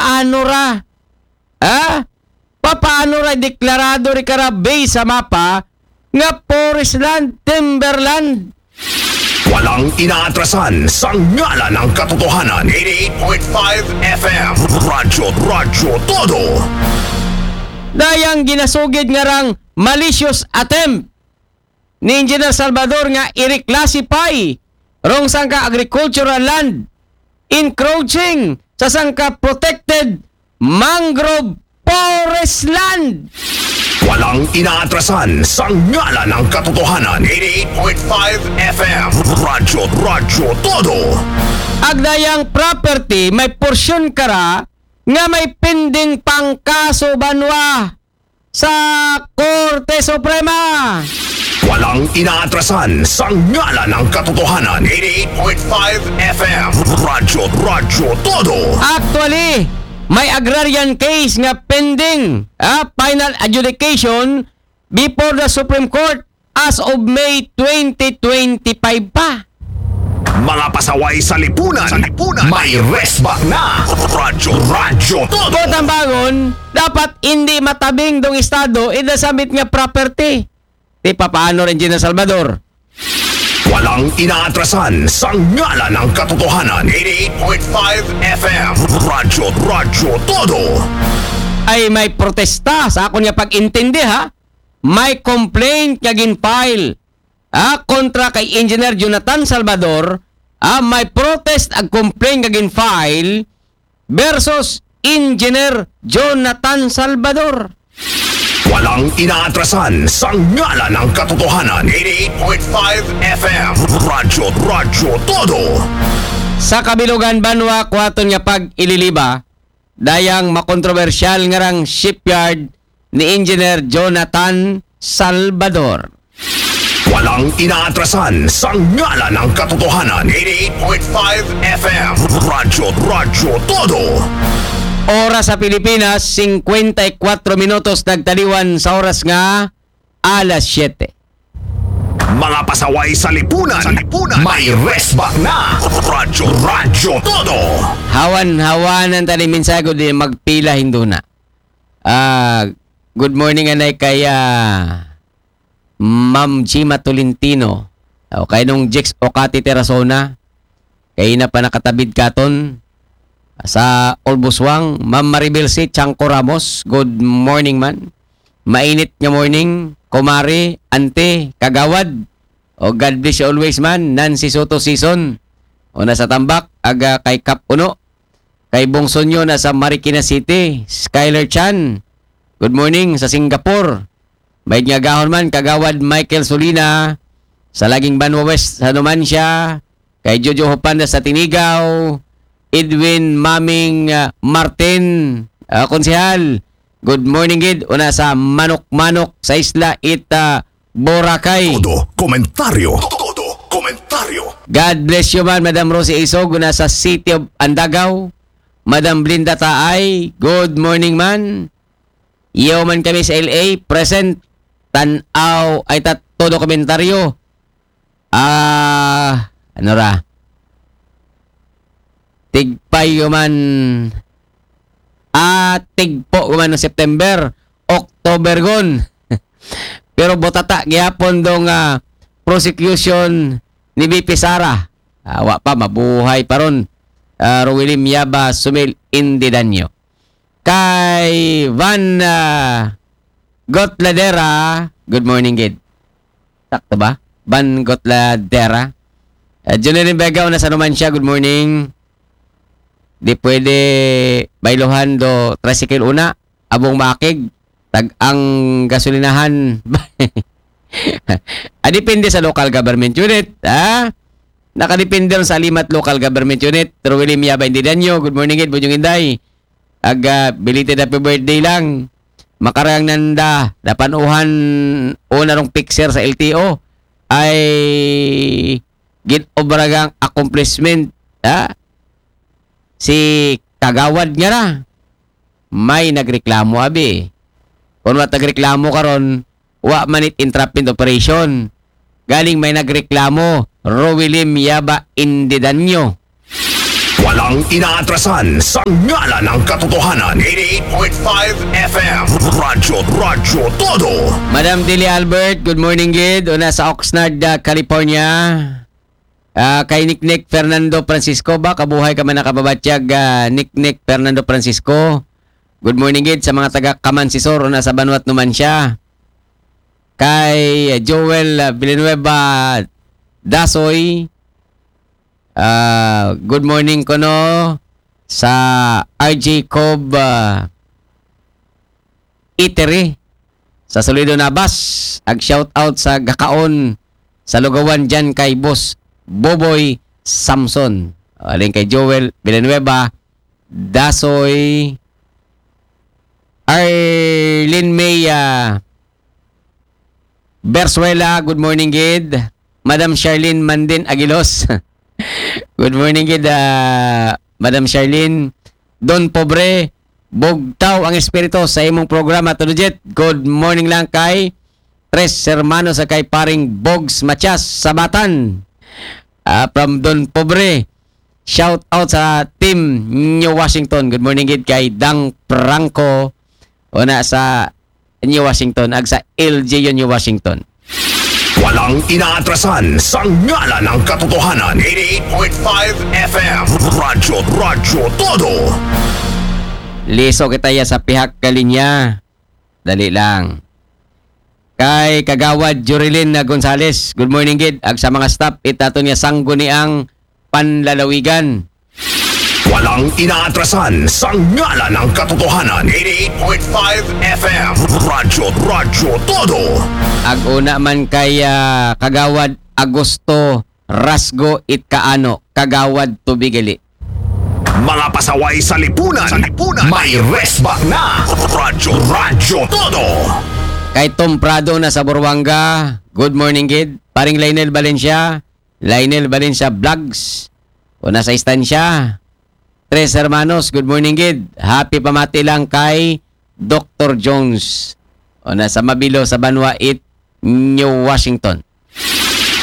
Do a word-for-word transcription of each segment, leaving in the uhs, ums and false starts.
papaano ra? Ha? Papaano ra deklarado ri kara based sa mapa nga forest land, timberland? Walang inaatrasan sa ngalan ng katotohanan. eighty-eight point five F M. Radyo, Radyo Todo. Dayang ginasugid nga rang malicious attempt ni Engineer Salvador nga i-reclassify rong sangka agricultural land encroaching sa sangka protected mangrove forest land. Walang inaatrasan sa ngalan ng katotohanan. eighty-eight point five F M. Radyo, Radyo Todo. Agdayang property may porsyon kara nga may pending pang kaso banwa sa Korte Suprema. Walang inaatrasan sa ngalan ng katotohanan. eighty-eight point five F M. Radyo, Radyo Todo. Actually, may agrarian case nga pending, ah, final adjudication before the Supreme Court as of May twenty twenty-five pa. Mga pasaway sa lipunan. Sa lipunan. May resback na. Radyo, Radyo Todo. Tambangon, dapat hindi matabing dong Estado ida samit nga property. Ti papaano rin Gina Salvador? Walang inaatrasan sa ngalan ng katotohanan. eighty-eight point five F M. Radyo, Radyo Todo. Ay may protesta sa akon nga pag-intindi, ha? May complaint nga gin-file, ha, kontra kay Engineer Jonathan Salvador, ha, may protest ag complaint nga gin-file versus Engineer Jonathan Salvador. Walang inaatrasan sa ngalan ng katotohanan. eighty-eight point five F M. Radyo, Radyo Todo. Sa kabilugan banwa kuwaton nga pag-ililiba, dayang makontrobersyal nga rang shipyard ni Engineer Jonathan Salvador. Walang inaatrasan sa ngalan ng katotohanan. eighty-eight point five F M. Radyo, Radyo Todo. Oras sa Pilipinas, singkwenta y kwatro minutos nagtaliwan sa oras nga alas siyete. Mga pasaway sa lipunan. Sa lipunan. May resback na. Radyo, Radyo Todo. Hawan-hawanan tani mensahe ko di magpila hinduna. Ah, good morning anay kay ah, Ma'am Gima Tolentino. O kay nung Jex Okati Terasona. Kay na pa nakatabid katon sa Olbuswang, Ma'am Maribel C. Chanco Ramos. Good morning man. Mainit nga morning, kumare, ante, kagawad. O God bless you always man, Nancy Soto Season. O nasa Tambak, aga kay Kap Uno. Kay Bongso nyo nasa Marikina City, Skyler Chan. Good morning sa Singapore. May nga gahon man, Kagawad Michael Solina, sa Laging Banwa West, sa Numancia. Kay Jojo Hopanda sa Tinigaw, Edwin Maming ah, Martin, ah, Konsehal. Good morning gid, una sa Manok-Manok sa Isla Ita, Boracay. Todo komentaryo. Todo komentaryo. God bless you man, Madam Rosie Isog, una sa City of Andagaw. Madam Blinda Taay, good morning man. Iyo man kami sa L A, present. Tanaw, ay ta, todo komentaryo. Ah, ano ra? Tigpayo man. Ah, tigpo man ng September, October gon. Pero botata gihapon dong ah, prosecution ni V P Sara. Ah, wa pa, mabuhay pa ron. Ah, Rowilim Yaba, Sumil Indidanyo. Kay Van ah, Gotladera, good morning gid. Sakto ba? Van Gotladera. Uh, Junelin Vega, una sa Numancia, good morning. Di pwede bailuhan do tricycle una, abong makig, tag ang gasolinahan. Ah, depende sa local government unit, ha? Nakadepende ron sa Alimat Local Government Unit. Rowilim Yaba Indidanyo, good morning gid, Bujong Inday. Aga, belated happy birthday lang. Makarang nanda, napanuhan una rong fixer sa L T O ay gin-obragang accomplishment, ha? Si Kagawad nga ra, may nagreklamo, abi. Kung wa nagreklamo karon, wa man it entrapment operation. Galing may nagreklamo, Rowilim Yaba Indidanyo. Walang inaatrasan sa ngalan ng katotohanan. Eighty-eight point five F M. Radyo, Radyo Todo. Madam Dili Albert, good morning gid. Una sa Oxnard, ah, California. Ah, kay Niknik Fernando Francisco ba? Kabuhay ka man nakababatyag, ah, Niknik Fernando Francisco. Good morning gid sa mga taga Camansisor, una sa Banwat Numancia. Kay Joel, ah, Villanueva Dasoy, ah, good morning kuno sa R J Cobb, ah, Eatery sa Solido Nabas. Ag shout out sa gakaon sa lugawan dyan kay Boss Boboy Samson. Aling kay Joel Villanueva, Dasoy, Arlene May, ah, Bersuela, good morning gid. Madam Charlene Mandin Aguilos. Good morning gid, ah, Madam Charlene. Don Pobre, bugtaw ang espiritu sa imong programa, Todojit. Good morning lang kay Tres Hermanos sa kay paring Bogs Matias Sabatan. Ah, from Don Pobre. Shout out sa Team New Washington. Good morning gid kay Dang Franco. Una sa New Washington, ag sa L G U New Washington. Walang inaatrasan sa ngalan ng katotohanan. Eighty-eight point five F M. Radyo, Radyo Todo. Liso kita ya sa pihak kalinya. Dali lang. Kay Kagawad Jurilin na Gonzales, good morning gid. Ag sa mga staff, itato niya sangguniang panlalawigan. Walang inaatrasan sa ngalan ng katotohanan. Eighty-eight point five F M. Radyo, Radyo Todo. Ag una man kay, ah, Kagawad Agosto Rasgo it Kaano, Kagawad Tubig gali. Mga pasaway sa lipunan. Sa lipunan. May resback na. Radyo, Radyo Todo. Kay Tom Prado na sa Buruanga, good morning gid. Paring Lionel Valencia, Lionel Valencia Vlogs. Una sa istansya. Tres Hermanos, good morning gid. Happy pamati lang kay Doctor Jones. Una sa Mabilo sa Banwa it New Washington.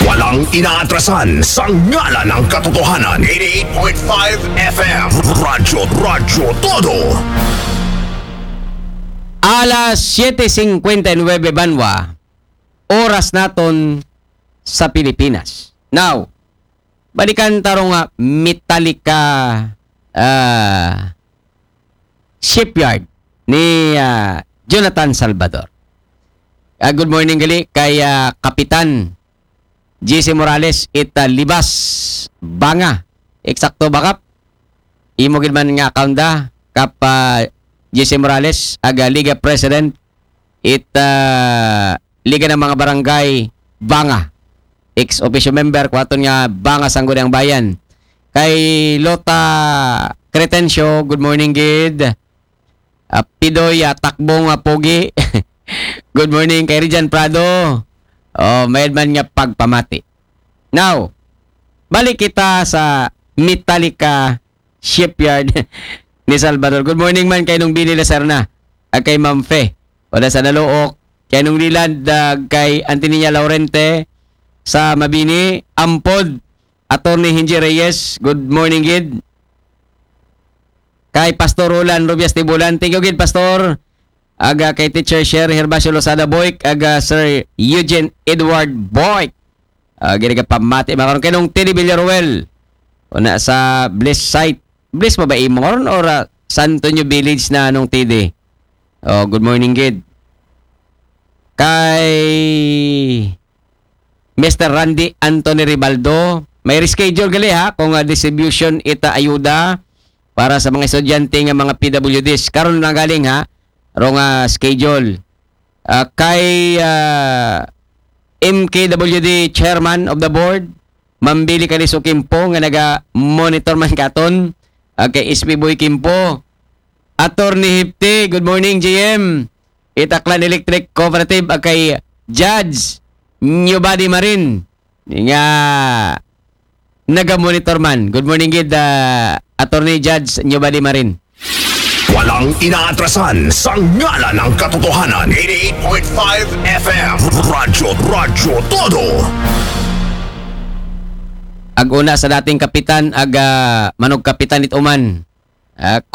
Walang inaatrasan sa ngalan ng katotohanan. Eighty-eight point five F M. Radyo, Radyo Todo. Alas siyete singkwenta y nuwebe Banwa, oras naton sa Pilipinas. Now, balikan ta ro nga Metallica, ah, Shipyard ni, ah, Jonathan Salvador. Ah, good morning gali kay, ah, Kapitan J C Morales it, ah, Libas, Banga. Eksakto ba, Kap? Imo gid man nga account da, Kap, ah, J C Morales, aga Liga President it, ah, Liga ng mga Barangay, Banga. Ex officio member, kuwaton nga Banga Sangguniang Bayan. Kay Lota Cretencio, good morning gid. Ah, Pidoy, ah, Takbong, ah, Pogi. Good morning kay Rijan Prado. Oh, mayad man nga pagpamati. Now, balik kita sa Metallica Shipyard ni Salvador. Good morning man kay Nung Billy Lacerna, ag kay Ma'am Fe. Wala sa Naluok. Kay Nung Lilad, ag kay Antinia Laurente sa Mabini. Ampod, Attorney Hinji Reyes. Good morning gid. Kay Pastor Roland Rubias Tibulan. Thank you gid, Pastor. Aga kay Teacher Sher Herbacio Lozada Boyk, aga Sir Eugene Edward Boyk. Ah, gini ka pamati, makaroon kay Nung Teddy Villaruel. Una sa Bliss site. Bliss pa ba imo ron or, ah, San Antonio Village na Nung Teddy? Oh, good morning gid. Kay Mister Randy Anthony Ribaldo, may reschedule gali ha, kung, ah, distribution ita ayuda para sa mga estudyante nga mga P W Ds. Karon lang galing ha, ro nga schedule. Ah, kay, ah, M K W D Chairman of the Board, Ma'am Billy Caliso Kimpo nga naga-monitor man katon, ah, kay S P Boy Kimpo, Attorney Hipti, good morning, G M. Itaklan Electric Cooperative, ah, kay Judge Newbody Marin nga naga-monitor man. Good morning gid, ah, Attorney Judge Newbody Marin. Walang inaatrasan sa ngalan ng katotohanan. Eighty-eight point five F M. Radyo, Radyo Todo. Ag una sa dating kapitan, ag ah, manugkapitan it uman. Ah,